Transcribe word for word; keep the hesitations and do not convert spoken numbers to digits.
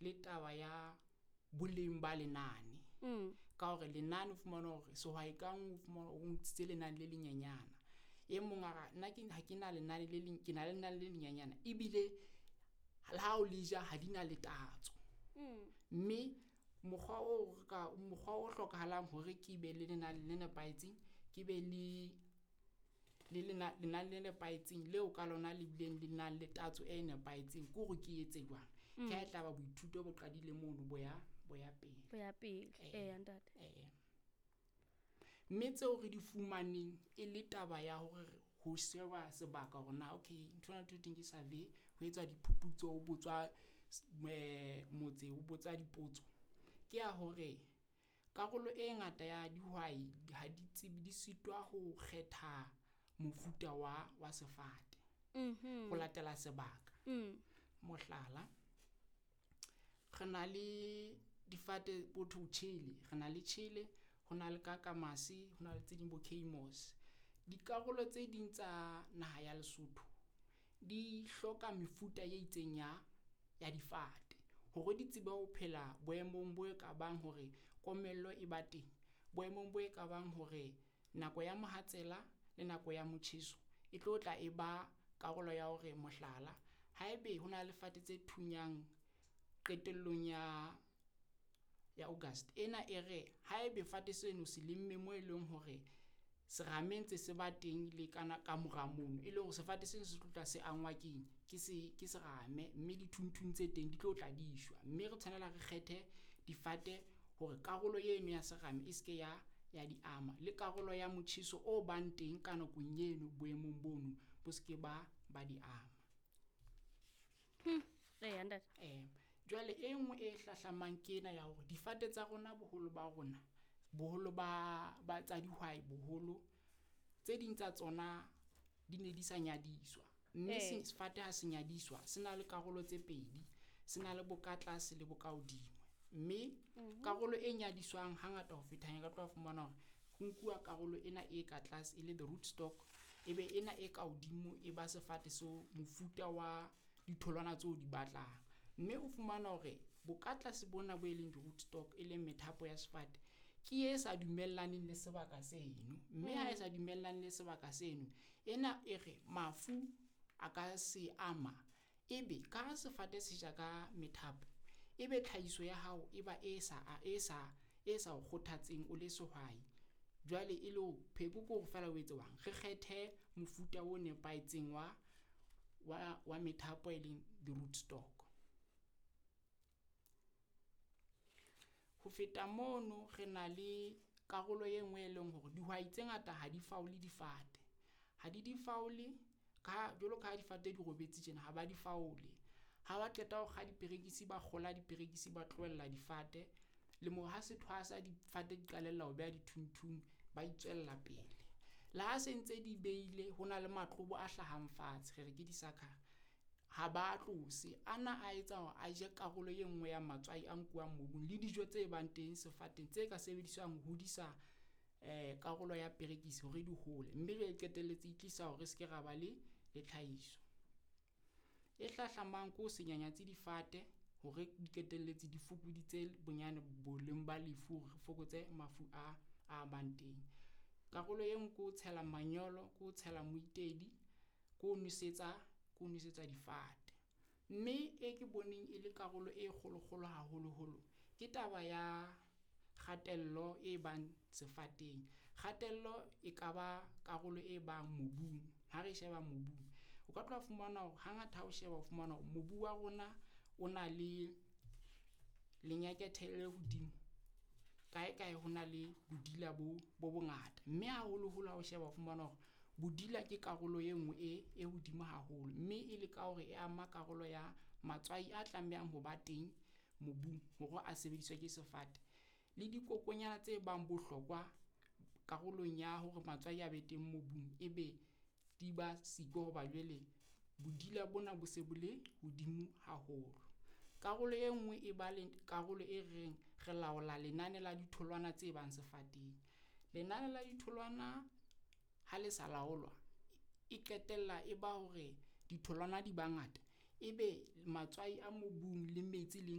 le taba ya boleng ba lenane. Mm. Ka hore lenane o fumana hore sehwai ka nngwe o fumana o ntshitse lenane le lenyenyana. E mong a re nna ke ha ke na lenane le leng, ke na le lenane le lenyenyana ebile le ha o le ja ha di na le tatso. Mm. Mme mokgwa o re ka mokgwa o hlokahalang hore ke be le lenane le nepahetseng, ke be le le lena lenane le nepahetseng leo ka lona le bileng le nang le tatso e nepahetseng ke hore ke etse jwang. Ke ha e tlaba boithuto bo qadile mono bo ya bo ya pele. Bo ya pele. Eh. Eya ntate. Eh. Mme tseo re di fumaneng e le taba ya hore ho sheba sebaka hore na okay ntho ena thoteng ke survey, ho etswa diphuputso, ho botswa eh motse ho botsa dipotso. Ke ya hore karolo e ngata ya dihwai ha di tsebe di sitwa ho kgetha mofuta wa wa sefate Mhm. ho latela sebaka. Mm. Mohlala, re na le difate botho tjhele, re na le tjhele, ho na le kakamase, ho na le tse ding bo keimoos. Dikarolo tse ding tsa naha ya Lesotho di hloka mefuta e itseng ya ya difate hore di tsebe ho phela boemong bo e ka bang hore komello e ba teng, boemong bo e ka bang hore nako ya mohatsela le nako ya motjheso e tlo tla e ba karolo ya hore mohlala, haebe ho na le fate tse thunyang qetellong ya ya August ena e re haebe fate seno se lemme mo e leng hore serame ntse se ba teng le kana ka mora mono, e le hore sefate seno se tlo tla se angwa keng ke se ke serame mme dithunthung tse teng di tlo tla di shwa. Mme re tshwanela re kgethe difate hore karolo eno ya serame e se ke ya ya di ama le karolo ya motjheso o bang teng ka nakong eno boemong bono bo se ke ba ba di ama. Eya ntate. Eh jwale e nngwe e hlahlamang ke ena ya hore difate tsa rona boholo ba rona boholo ba ba tsa dihwai boholo tse ding tsa tsona di ne di sa nyadiswa. Mme Eh. se sefate ha se nyadiswa se na le karolo tse pedi, se na le bokatlase le bokahodimo. Mme karolo e nyadiswang hangata ho feta ka tlo fumana hore ho nkuwa karolo ena e ka tlase e le the root stock, ebe ena e ka hodimo e ba sefate so mofuta wa ditholwana tseo di batlang. Mme o fumana hore bokatlase bona bo e leng di-root stock e leng methapo ya sefate ke e sa dumellaneng le sebaka seno. Mme ha e sa dumellane le sebaka seno, ena e re mafu a ka se ama ebe ka ha sefate se ja ka methapo, ebe tlhahiso ya hao e ba e sa e sa e sa o kgothatseng o le sehwai. Jwale e le hore pheko ke hore feela o etse jwang, re kgethe mofuta o nepahetseng wa wa wa methapo e leng the-root stock. Ho feta mono re na le karolo e nngwe e leng hore dihwai tse ngata ha di faole difate. Ha di di faole ka jwalo ka ha difate di robetse tjena ha ba di faole. Ha ba qeta ho kga diperekisi, ba kgola diperekisi, ba tlohella difate le moo ha se thwasa difate di qalella ho beha dithunthung, ba itswella pele. Le ha se ntse di beile ho na le matlobo a hlahang fatshe, re re ke di . Ha ba tlose ana a etsa hore a je karolo e nngwe ya matswai a nkuwang mobung le dijo tse bang teng sefateng tse ka sebediswang ho hodisa eh karolo ya perekisi hore di hole. Mme jwale e qetelletse e tlisa hore re se ke ra ba le le tlhahiso. E hlahlamang ke ho se nyanyatse difate hore di qetelletse di fokoditse bonyane boleng ba lefu hore re fokotse mafu a a bang teng. Karolo e nngwe ke ho tshela manyolo, ke ho tshela moitedi, ke ho nwesetsa ke ho nwesetsa difate. Mme e ke boneng e le karolo e kgolokgolo haholoholo ke taba ya kgatello e bang sefateng. Kgatello e ka ba karolo e bang mobung, ha re sheba mobung. O ka tloha fumana hore hangata ha o sheba o fumana hore mobu wa rona o na le lenyekethe le hodimo. Kae kae ho na le bodila bo bo bongata. Mme haholoholo ha o sheba o fumana hore bodila ke karolo e nngwe e e hodimo haholo. Mme e le ka hore e ama karolo ya matswai a tlamehang ho ba teng mobung hore a sebediswe ke sefate. Le dikokonyana tse bang bohlokwa karolong ya hore matswai a be teng mobung, ebe di ba siko hoba jwale bodila bona bo se bo le hodimo haholo. Karolo e nngwe e ba le karolo e reng re laola lenane la ditholwana tse bang sefateng. Lenane la ditholwana ha le sa laolwa, e qetella e ba hore ditholwana di ba ngata, ebe matswai a mobung le metsi le